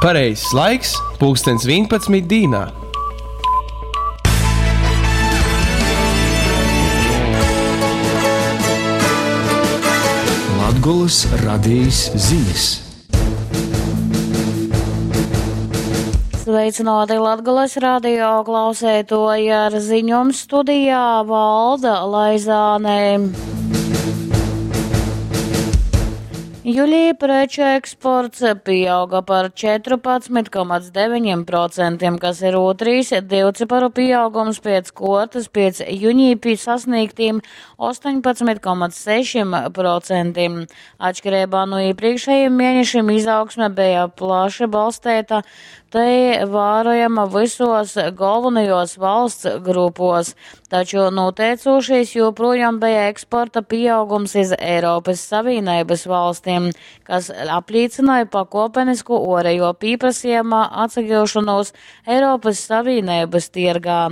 Pareizais laiks - pulkstens 11 dīnā. Latgolys radejis zinis. Sveicināti Latgolas radio klauseitoji ar ziņom studijā Valda Laizāne. Julī preču eksports pieauga par 14,9%, kas ir otrīs divciparu pieaugums pēc kuortys piec junī sasnīgtīm 18,6%. Atškireibā nu īprīkšējim mienešim izaugsme beja plaši balsteita, tai vārojama vysos golvonajos valsts grupos. Taču nūteicūšīs joprojām beja eksporta pieaugums iz Eiropys Savīneibys valstim, kas aplīcynoja pakuopenisku uorejuo pīprasejuma atsagiušonūs Eiropys Savīneibys tiergā.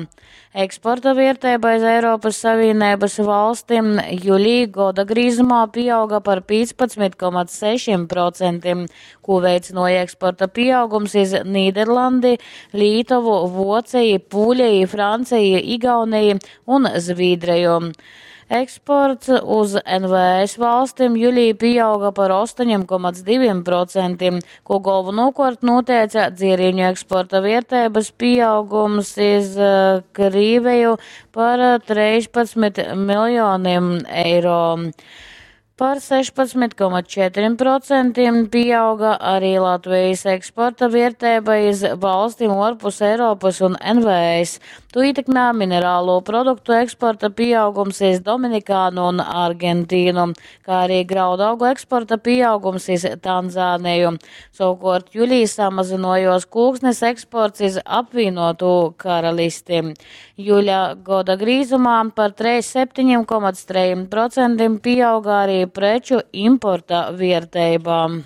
Eksporta vierteiba iz Eiropys Savīneibys valstim julī goda grīzumā pieauga par 15,6%, kū veicynuoja eksporta pieaugums iz Nīderlandi, Lītovu, Vuoceji, Pūleji, Franceji, Igauneji un Zvīdreju. Eksports uz NVS valstim julī pieauga par 8,2%, ko galvenokārt noteica dzierīņu eksporta vērtības pieaugums iz Krīveju par 13 miljoniem eiro. Par 16,4% pieauga arī Latvijas eksporta vērtība iz valstīm ārpus Eiropas un NVS. To ietekmē minerālo produktu eksporta pieaugums iz Dominikānu un Argentīnu, kā arī graudaugu eksporta pieaugums iz Tanzāniju. Savukārt julī samazinojos kūksnes eksports iz apvienotu karalisti. Juļa goda grīzumā par 7,3% pieauga arī preču importa vērtība.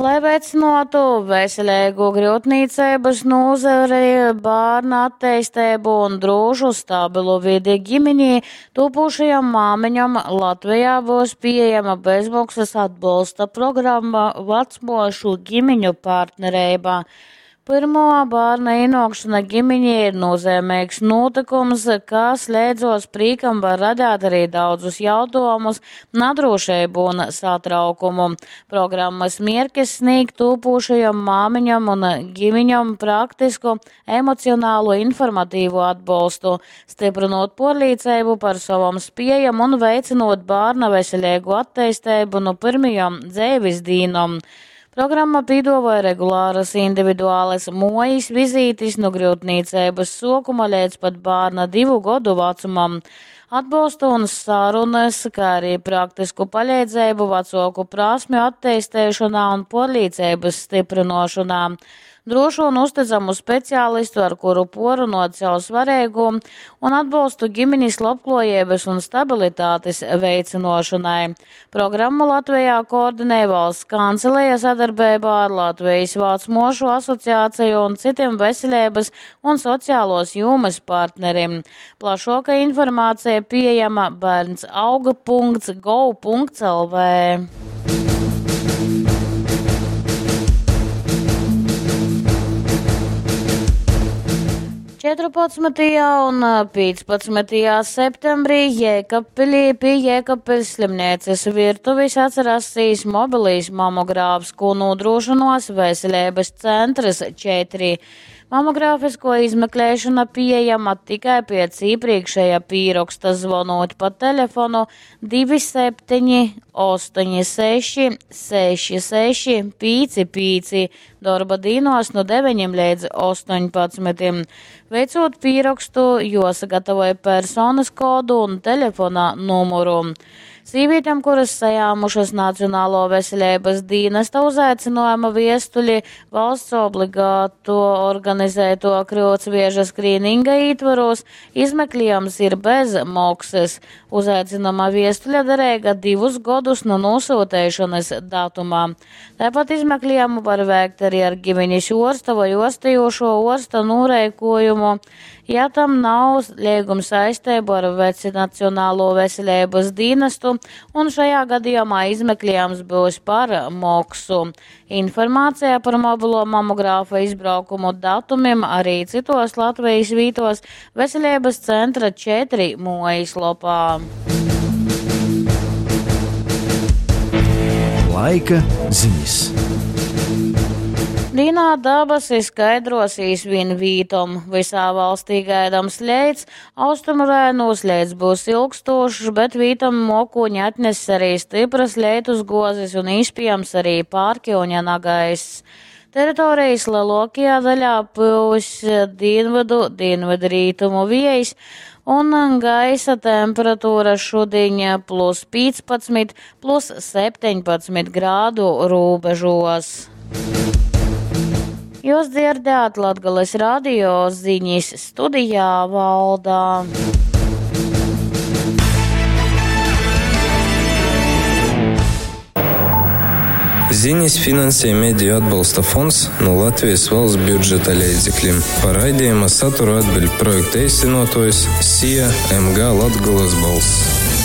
Lai veicinātu veselīgu gryutnīceibys nūzari, bārna atteistību un drūšu stabilu vidi ģimenī, tūpūšajam māmiņam Latvijā būs pieejama bezmaksas atbalsta programma Vecmošu ģimeņu partnerība. Pirmo bērna ienākšana ģimenī ir nozīmīgs notikums, kas leidzos prīkam var radīt arī daudzus jautājumus, nadrošību un satraukumu. Programmas mierkis sniegt tūpūšajam māmiņam un ģimiņam praktisku, emocionālu, informatīvu atbalstu, stiprinot porlīcību par savam spējam un veicinot bērna veselīgu attīstību no pirmajām dzīves dīnom. Programma pīdavoja regulāras individuālas mojas vizītes no gryutnīceibys sokuma līdz pat bērna 2 godu vecumam. Atbalstu un sarunas, kā arī praktisku palīdzību vecāku prasmju attīstīšanā un porlīdzības stiprinošanā. Drošu un uzticamu speciālistu, ar kuru porunot sev svarīgu un atbalstu ģimenes labklājības un stabilitātes veicinošanai. Programmu Latvijā koordinē valsts kanceleja sadarbībā ar Latvijas Vācmošu asociāciju un citiem veselības un sociālos jomas partnerim. Plašāka informācija pieejama bērnsauga.gov.lv. 14. un 15. septembrī Jēkabpilī pie Jēkabpils slimnīcas virtuves atsirasīs mobilīs mamogrāfs, ko nodrošinos veselības centrs 4. Mamogrāfisko izmeklēšana pieejama tikai pēc iepriekšēja pīroksta zvonot pa telefonu 27 86 66 55 darba dīnos no 9 līdz 18. Veicot pīrokstu, josagatavoja personas kodu un telefona numuru. Sīvītem, kuras sajāmušas Nacionālo veselības dīnesta uzaicynojuma viestuli valsts obligāto organizēto kryutsvieža skrīninga ītvaros, izmeklējums ir bez moksas. Uzaicinama viestuļa derīga 2 godus no nosūtēšanas datumā. Tāpat izmeklējumu var veikt arī ar ģimenes orsta vai orstējošo orsta noreikojumu. Ja tam nav lieguma saistību ar Nacionālo veselības dienestu, un šajā gadījumā izmeklējums būs par moksu. Informācija par mobilo mamogrāfa izbraukumu datumiem arī citos Latvijas vītos Veselības centra 4 mojas lopā. Laika ziņas. Dīnā dabasi skaidrosīs vien vītom. Visā valstī gaidams leits, austrumu rainos leits būs ilgstošs, bet vītom mokoņi atness arī stipras leitus gozes un iespējams arī pārkiuņa nagaiss. Teritorijas lielākajā daļā pūs dienvidu, dienvidrītumu viejs, un gaisa temperatūra šodien plus 15, plus 17 grādu robežos. Jūs dzirdējāt Latgales radio ziņas studijā Valdā. Ziņas finansē Mediju atbalsta fonds no Latvijas valsts budžeta līdzekļiem. Par raidījuma saturu atbild projekta īstenotājs SIA MG Latgulas balss.